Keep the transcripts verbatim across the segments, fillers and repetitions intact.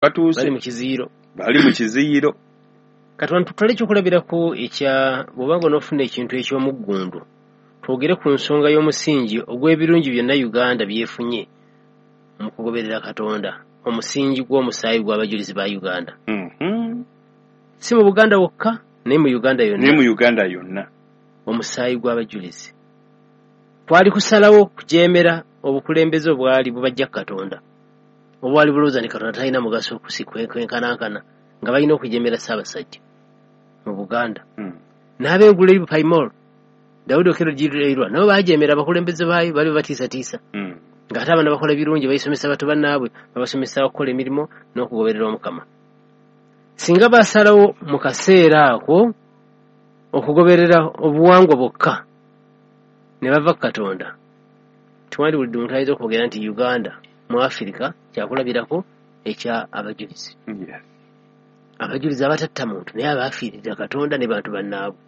Batuuse. Bali mu kiziyiro. Bali mu kiziyiro. Katonda, tutwale ekyokulabirako ekya bw'obanga onoofuna ekintu eky'omuggundu, twogere ku nsonga y'omusingi ogw'ebirungi byonna Uganda byefunye mu kugoberera Katonda, omusingi gw'omusaayi gw'abajulizi ba Uganda. Mhm. Si mu Buganda wokka, naye mu Uganda yonna. Naye mu Uganda yonna. Omusaayi gw'abajulizi kwali kusalawo kujeemera obukulembeze obwali bubajja ku Katonda, obwali bulowooza nti Katonda talina mugaso kwenkanankana, nga balina okujeemera Ssaabasajja mu Buganda. Mm. N'ab'engulu eri Paimol, Dawudi Okello Gireirwa, nabo baajeemera abakulembeze baayo, bali batiisatiisa. Mm. Ng'ate abaana bakola birungi, bayisomesa bato bannaabwe, babasomesa okukola emirimu n'okugoberera Omukama. Singa basalawo mu kaseera ako okugoberera obuwangwa bwokka ne bava ku Katonda, tewandiwulidde omuntu ayinza okwogera nti Uganda mu Afirika kyakulabirako ekya abajulizi. Yes. Abajulizi abatatta muntu, naye abaafiirira Katonda ne bantu bannaabwe.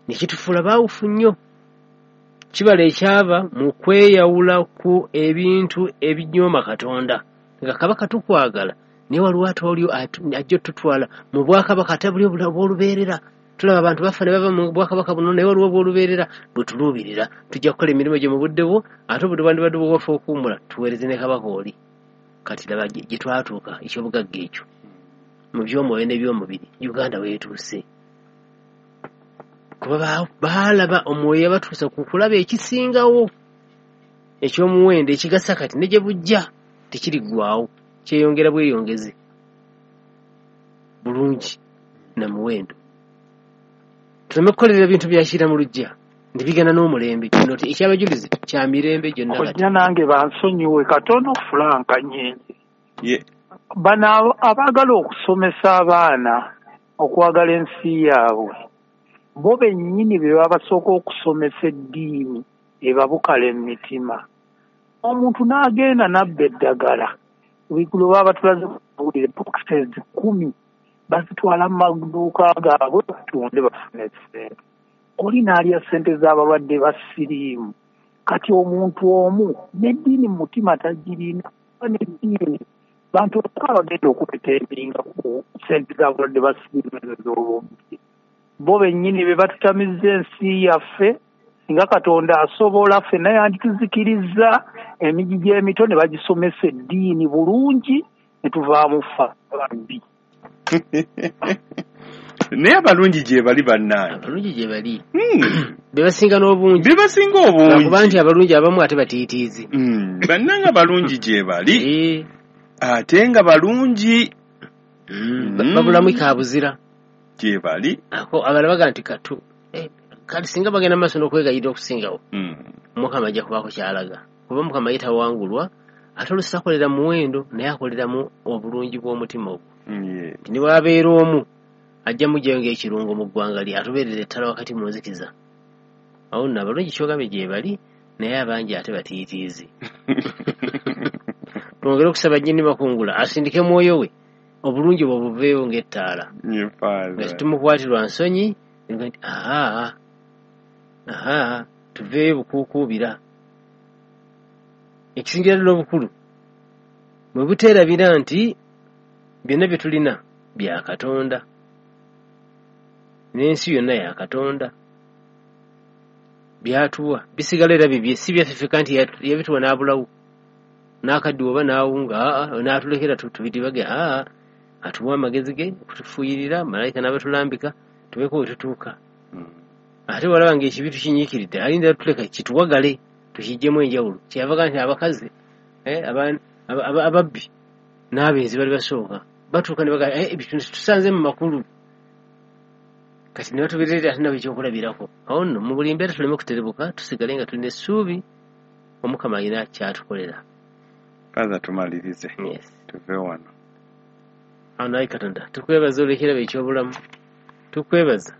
Ne kitufuula baawufu nnyo. Kibala ekyava mu kweyawula ku ebintu ebinyooma Katonda. Nga Kabaka tukwagala, naye waliwo ate oli ajja otutwala mu bwakabaka ate buli obw'olubeerera. Tulaba abantu bafa ne bava mu bwakabaka buno, naye waliwo obw'olubeerera bwe tuluubirira. Tujja kukola emirimu gye mu budde bwo, ate obudde bwandibadde bwaffe okuwummula, tuweereze ne Kabaka oli. Kati laba gye twatuuka, eky'obugagga ekyo mu by'omwoyo n'eby'omubiri, Uganda weetuuse. Kuba baalaba omwoyo yabatuusa ku kulaba ekisingawo eky'omuwendo ekigasa kati ne gye bujja tekiriggwaawo, kyeyongera bweyongezi bulungi na muwendo. Tuleme kukolerera bintu bya kira mu luggya nti bigenda n'omulembe. Kino ekyabajulizi kya mirembe gyonna kati. Kojja nange bansonyiwe katono, Frank Nyenje. Ye. Bano abaagala okusomesa abaana okwagala ensi yaabwe, bo bennyini be babasooka okusomesa eddiini ebabukala emitima. Omuntu n'agenda n'abba eddagala, ebigulo baba batulaze kuwulire boxes kumi bazitwala mu maduuka gaabwe batunde bafune ssente. Oli n'alya ssente z'abalwadde ba siriimu. Kati omuntu omu n'eddiini mu mutima tagirina, n'eddiini bantu baka bagenda okuteteeminga ku ssente z'abalwadde ba siriimu ezo z'obubbi. Bo bennyini be batutamizza ensi yaffe, singa Katonda asobola ffenna yandituzikirizza emigigi emito ne bagisomesa eddiini bulungi ne tuvaamu ffa ababbi. Naye abalungi gye bali bannange. Abalungi gye bali. Hmm. Be basinga n'obungi. Be basinga obungi. Lwakuba nti abalungi abamu ate batiitiizi. Hmm. Bannange abalungi gye bali. Eh. Ate nga balungi. Hmm. Hmm. Babulamu kabuzira. Gye bali. Ako abalala baga nti katu. Eh, kati singa bagenda maaso n'okwegayirira okusingawo. Hmm. Mukama ajja kubaako ky'alaga. Kuba Mukama ye tawangulwa, ate oluusi akolera muwendo, naye akoleramu obulungi bw'omutima ogwo. Yeah. Nti ne bw'abeera omu, ajja muggyayo ng'ekirungo mu ggwanga lye, atubeerera ettala wakati mu nzikiza. Awo nno abalungi ky'ogambye gye bali, naye abangi ate batiitiizi. Twongere okusaba nnyini makungula asindike mwoyo we, obulungi bwe buveeyo ng'ettaala. Ye Father. Nga tetumukwatirwa nsonyi, nti aha, aha, tuveeyo bukuukuubira. Ekisingira ddala obukulu, bwe buteerabira nti byonna bye tulina bya Katonda, n'ensi yonna ya Katonda. Byatuwa bisigala era bibye, si byaffe ffekka nti yabituwa n'abulawo n'akaddiwa oba n'awunga, aa, n'atulekera tubitibage, aa, atuwa amagezi ge okutufuuyirira, malayika n'abatulambika tubeeko we tutuuka. Ate walaba ng'ekibi tukinyiikiridde, alinda tuleka kituwagale tukiggyemu enjawulo. Kyeyava nti abakazi, eh, ababbi n'abenzi bali basooka batuuka ne bagamba, eh, ebyo tusanze mu makulu. Kati ne batubeerera ate nabo ekyokulabirako. Awo nno mu buli mbeera tuleme kuterebuka, tusigale nga tulina essuubi Omukama alina ky'atukolera. Father, tumalirize. Yes. Tuve wano. Awo naye Katonda tukwebaza olw'ekirabo eky'obulamu, tukwebaza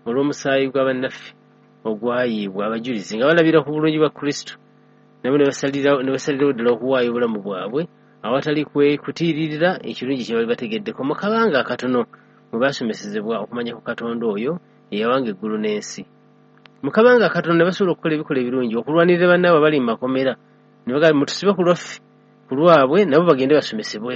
olw'omusaayi gwa bannaffe ogwayiibwa abajulizi nga balabira ku bulungi bwa Kristo, nabo ne basalirawo, ne basalirawo ddala okuwaayo obulamu bwabwe awatali kwe kutiiririra ekirungi kye bali bategeddeko mu kabanga akatono mwe baasomesezebwa okumanya ku Katonda oyo eyawanga eggulu n'ensi. Mu kabanga akatono ne basobola okukola ebikola ebirungi, okulwanirira bannaabwe abali mu makomera, ne bagamba mutusibe ku lwaffe, ku lwabwe, nabo bagende basomesebweko.